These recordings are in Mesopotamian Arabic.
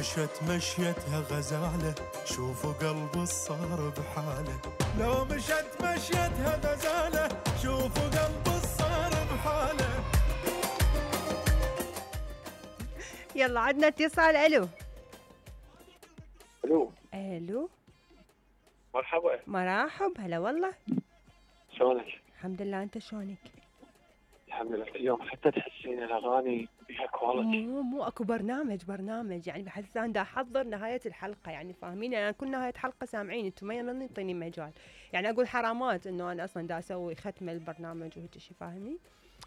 مشت مشيتها غزالة شوفوا قلبي صار بحالة. لو مشت مشيتها غزالة شوفوا قلبي صار بحالة. يلا عدنا اتصال. الو الو الو مرحبا. مرحب هلا والله. شلونك؟ الحمد لله، انت شلونك؟ الحمد لله. اليوم حتى تحسين الاغاني بها كواليتي. مو اكو برنامج يعني بحس انا دا احضر نهايه الحلقه، يعني فاهمين؟ انا كل نهايه حلقه سامعين انتم ما ينطيني مجال، يعني اقول حرامات انه انا اصلا دا اسوي ختمه البرنامج وهيك شيء، فاهمين؟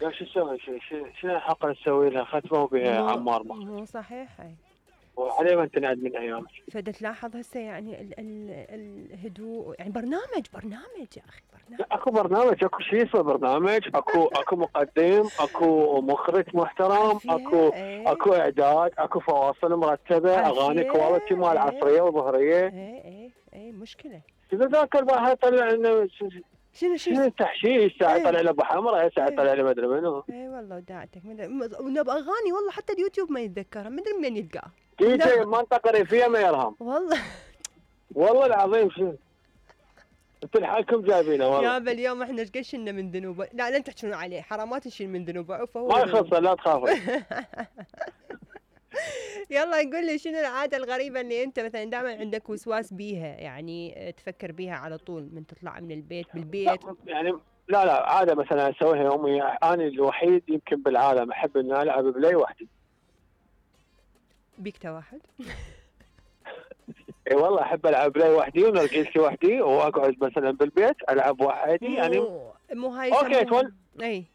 لا شو تسوي؟ شنو الحلقه نسوي لها ختمه بها عمار مو صحيح. اي وعليه ما تنعد من ايامك. فدا تلاحظ هسه يعني الهدوء، يعني برنامج يا اخي، برنامج. لا اكو برنامج، اكو شيء اسمه برنامج، اكو مقدم، اكو مخرج محترم، اكو اعداد، اكو فواصل مرتبه، اغاني كواليتي مال عصريه وظهريه. اي مشكله. اذا ذاك الواحد طلع انه شنو تحشيش، ساعه طلع له ابو حمراء، ساعه طلع له ما ادري منو. اي والله وداعتك ونبى اغاني والله حتى اليوتيوب ما يتذكرها، ما ادري منين يلقاها. دي جي منطقه ريفيه ما يرهم والله العظيم. شنو انتوا لحالكم جايبينه والله يابا. اليوم احنا ايش قد شلنا من ذنوبه. لا تحكون عليه، حرامات نشيل من ذنوبه فهو ما يخص، لا تخافوا. يلا نقول لي شنو العاده الغريبه اللي انت مثلا دائما عندك وسواس بيها، يعني تفكر بيها على طول من تطلع من البيت بالبيت؟ يعني لا عاده مثلا اسويها يوميا. انا الوحيد يمكن بالعالم احب اني العب بلاي وحدي. بيكتا واحد. اي والله احب العب بلاي وحدي ونرجسي وحدي، واقعد مثلا بالبيت العب وحدي. يعني مو هاي اوكي اي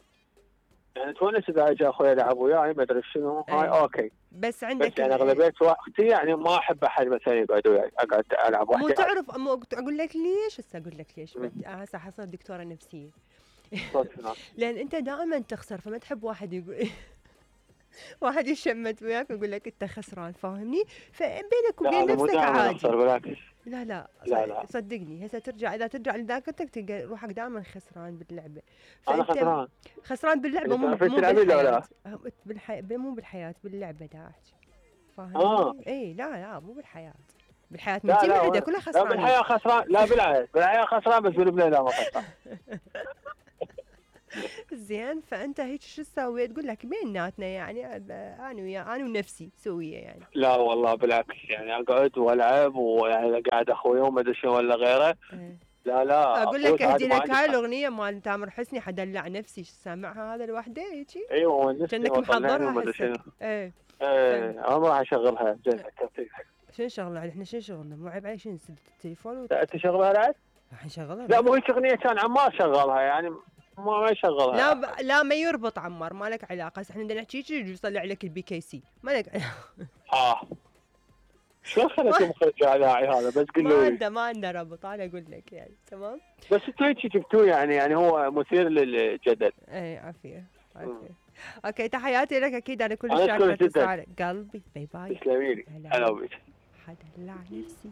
يعني تونس اذا اجى اخوي يلعب وياي ما ادري شنو هاي اوكي. بس عندك يعني اغلبيه وقتي يعني ما احب احد مثلا يقعد وياي، اقعد العب وحدي. مو تعرف اقول لك ليش؟ هسه اقول لك ليش. هسه حصلت دكتوره نفسيه. لان انت دائما تخسر، فما تحب واحد يقول واحد يشمت وياك ويقول لك انت خسران، فاهمني؟ فبينك وبين نفسك عادي. لا صدقني هسه ترجع، اذا ترجع لذاكرتك تلقى روحك دائما خسران باللعبه. انا خسران باللعبه، مو بالحياه. مو بالحياه، باللعبه دا احكي، فاهمني؟ اي لا مو بالحياه. بالحياه من بعده كلها خسران. لا بالحياه خسران، لا بالحياه خسران، بس بالبلاي لا ما خسران. زين. فانت هيك شو تسوي؟ تقول لك بيناتنا يعني انا ونفسي سويه يعني. لا والله بالعكس، يعني اقعد والعب، ويعني قاعد اخوي وما ادري شنو ولا غيره. لا اقول لك اهدي لك هاي الاغنيه مال تامر حسني حدلع نفسي، سامعها هذا لوحده هيجي؟ ايوه كأنك محضرها هسه. ايه انا ما راح اشغلها. شنو شغلها؟ احنا شنو شغلنا؟ مو عيب علي شنو نسد التليفون لا تشغلها بعد؟ راح نشغلها. لا مو هيك اغنيه كان عمار شغلها، يعني ما يشغلها. لا ما يربط عمار، ما لك علاقه. احنا بدنا نحكي شيء يصلي لك البي كي سي، ما لك علاقه. شلون خليته مخرج اذاعي هذا؟ بس قل له ما عنده ربط، انا اقول لك يعني تمام. بس انتوا هيك جبتوه، يعني هو مثير للجدل. اي عافيه. اوكي تحياتي لك اكيد، انا كل شاكره اتصالك قلبي. باي باي. تسلمي لي. هلا بك. حدلع نفسي.